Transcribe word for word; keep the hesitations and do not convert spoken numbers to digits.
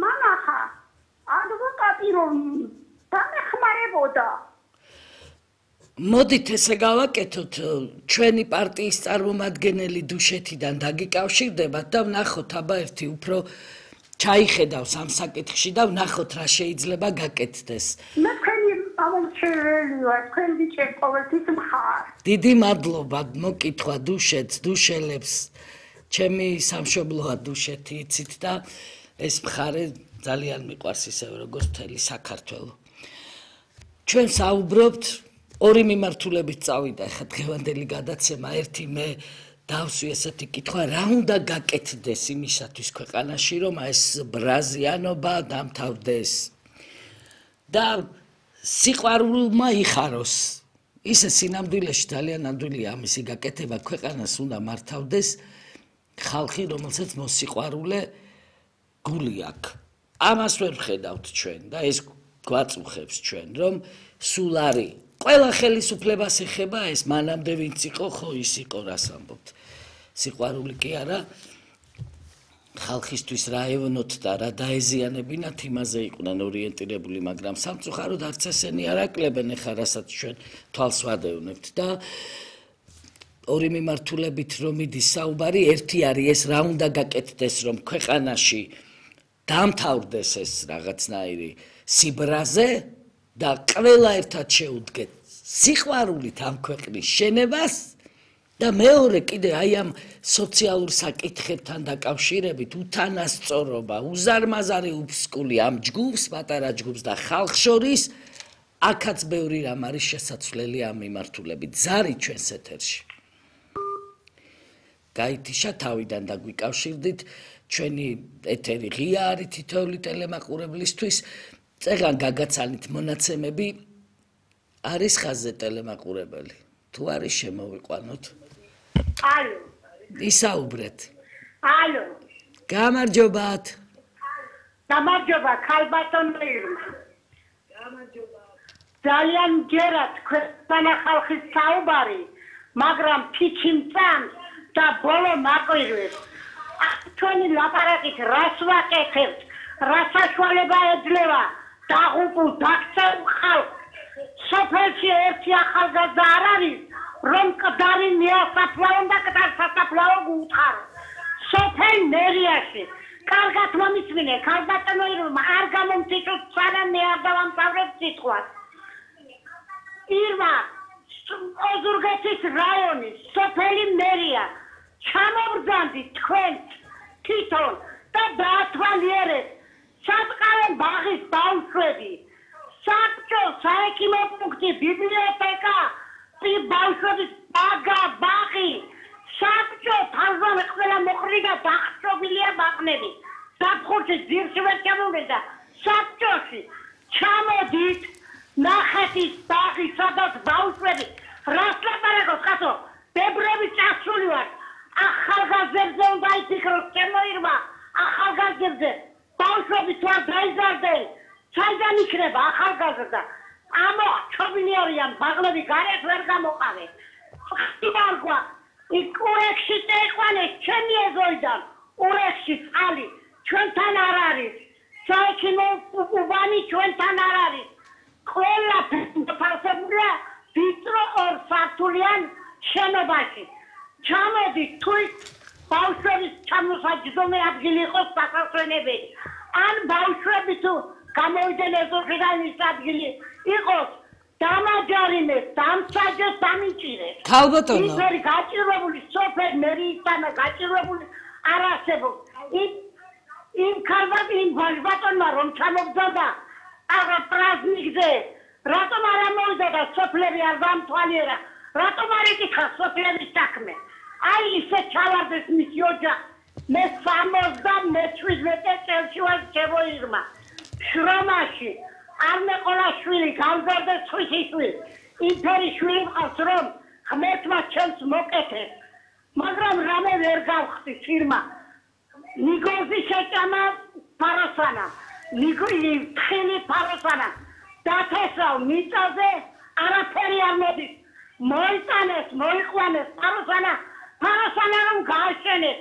მანახა ადვოკატი რომ დამეხმარებოდა. მოდით ესე გავაკეთოთ, ჩვენი პარტიის წარმომადგენელი დუშეთიდან დაგიკავშირდებათ და ვნახოთ აბა ერთი უფრო ჩაიხედავს ამ საკითხში და ვნახოთ რა შეიძლება გაკეთდეს. მე თქვენი ამომრჩეველი ვარ, თქვენ ბიჭებს ყოველთვის მხარ. დიდი მადლობა მოკითხვა დუშეთს, დუშელებს. ჩემი სამშობლოა დუშეთი, იცით და ეს მხარე ძალიან მიყვარს ისევე როგორც მთელი საქართველო. ჩვენ საუბრობთ ორი მიმართულებით წავიდა ახლა დღევანდელი გადაცემა. ერთი მე დავსვი ესეთი კითხვა, რა უნდა გაკეთდეს იმისათვის ქვეყანაში, რომ ეს ბრაზიანობა დამთავრდეს და სიყვარულმა იხაროს. ისე სინამდვილეში ძალიან ნამდვილია ამისი გაკეთება, ქვეყანას უნდა მართავდეს ხალხი, რომელსაც მოსიყვარულე გული აქვს. ამას ვერ ვხედავთ ჩვენ და ეს გვაწუხებს ჩვენ, რომ სულ არის ყველა ხელისუფლებას ეხება ეს, მანამდე ვინც იყო, ხო ის იყო, რას ამბობთ. სიყვარული კი არა, ხალხისთვის რა ევნოთ და რა დაეზიანებინათ, იმაზე იყვნენ ორიენტირებული, მაგრამ სამწუხაროდ არც ესენი არ აკლებენ ახლა, რასაც ჩვენ თვალს ვადევნებთ და ორი მიმართულებით რომ მიდის საუბარი, ერთი არის ეს რა უნდა გაკეთდეს, რომ ქვეყანაში დამთავრდეს ეს რაღაცნაირი სიბრაზე და ყველა ერთად შეუდგეთ სიყვარულით ამ ქვეყნის შენებას და მეორე კიდე აი ამ სოციალურ საკითხებთან დაკავშირებით უთანასწორობა, უზარმაზარი უფსკული ამ ჯგუფს, პატარა ჯგუფს და ხალხს შორის, აქაც ბევრი რამ არის შესაძლებელი ამ მიმართულებით. ზარი ჩვენს ეთერში. გაითიშა თავიდან დაგვიკავშირდით, ჩვენი ეთერი ღია არის თითოეული ტელემაყურებლისთვის. წეგან გაგაცანით მონაცემები არის ხაზზე ტელემაყურებელი. თუ არის შემოვიყვანოთ. ალო. ისაუბრეთ. ალო. გამარჯობათ. გამარჯობა, ქალბატონო ირმა. გამარჯობა. ძალიან მჯერათ ქვეყანა ხალხის საუბარი, მაგრამ ფიჩი მწამს და ბოლო მაკვირვებს. ჩვენი ლაპარაკით რას ვაკეთებთ, რა საშუალება ეძლევა დაღუპულ დაქცეულ ხალხს. სოფელში ერთი ახალგაზრდა არ არის, რომ მკვდარი მიასაფლავონ და მკვდარ სასაფლაო გუუთხარო. სოფელ მერიაში კარგად მომისმინე, ქალბატონო ირმა, არ გამომწიჭოთ სანამ მე არ დავამთავრებ სიტყვას. ირმა, ოზურგეთის რაიონის სოფელი მერია, ჩამობრძანდით თქვენ თვითონ და დაათვალიერეთ საწყალე ბაღის ბავშვები, საბჭო, საექიმო პუნქტი, ბიბლიოთეკა, ბავშვების ბაგა, ბაღი, საბჭო, თავზომე ყველა მოყრიდა დახშობილია ბაღნები. ზაფხულში ძირში ვერ ჩამოვიდა საბჭოში. ჩამოდით ნახეთ ის ბაღი, სადაც ბავშვები, რას ლაპარაკობთ, ხათო, ბებრები წასული ვართ. ახალგაზრდებზე უნდა იფიქროთ, ჩემო ირმა, ახალგაზრდებზე. ბავშვები თუ არ დაიზარდნენ, საიდან იქნება ახალგაზრდა? ამოხჩობილი არიან, ბაღლები გარეთ ვერ გამოყავე. ხტიბარგვა, იქ ურექსში წეიყვანეს, ჩემი ეზოიდან, ურექსში წყალი, ჩვენთან არ არის. საექიმო უბანი ჩვენთან არ არის. ყველა ფასებულია ვიწრო ორ სართულიან შენობაში. ჩამოდით, თუ ბავშვების ჩამოსაჯდომი ადგილი იყოს დასასვენებელი. ან ბავშვები თუ გამოვიდნენ ეზოხიდან ის ადგილი იყოს, დამაჯარიმეს, დამსაჯეს, დამიჭირეს. ქალბატონო. ისერი გაჭირვებული სოფელ მერიისთან გაჭირვებული არ არსებობს. იმ იმ ქალბატონმა, იმ ბაჟბატონმა რომ ჩამოგზავნა აღა პრაზნიკზე, რატომ არ ამოვიდა და სოფლები არ დამთვალიერა? რატომ არ იკითხა სოფლების საქმე? აი ისე ჩავარდეს მისი ოჯახი. მე სამოცდამეშვიდმეტე წელში ვარ, ჩემო ირმა. შრომაში არ მეყოლა შვილი, გამზარდეს ხვისი შვილი. იმფერი შვილი მყავს, რომ ღმერთმა ჩემს მოკეთეს. მაგრამ რამე ვერ გავხდი ირმა. ნიგოზი შეჭამა ფაროსანა. ნიგოზი თხილი ფაროსანა. დათესავ მიწაზე არაფერი არ მოდის. მოიტანეს, მოიყვანეს ფაროსანა. ფაროსანა რომ გააშენეს.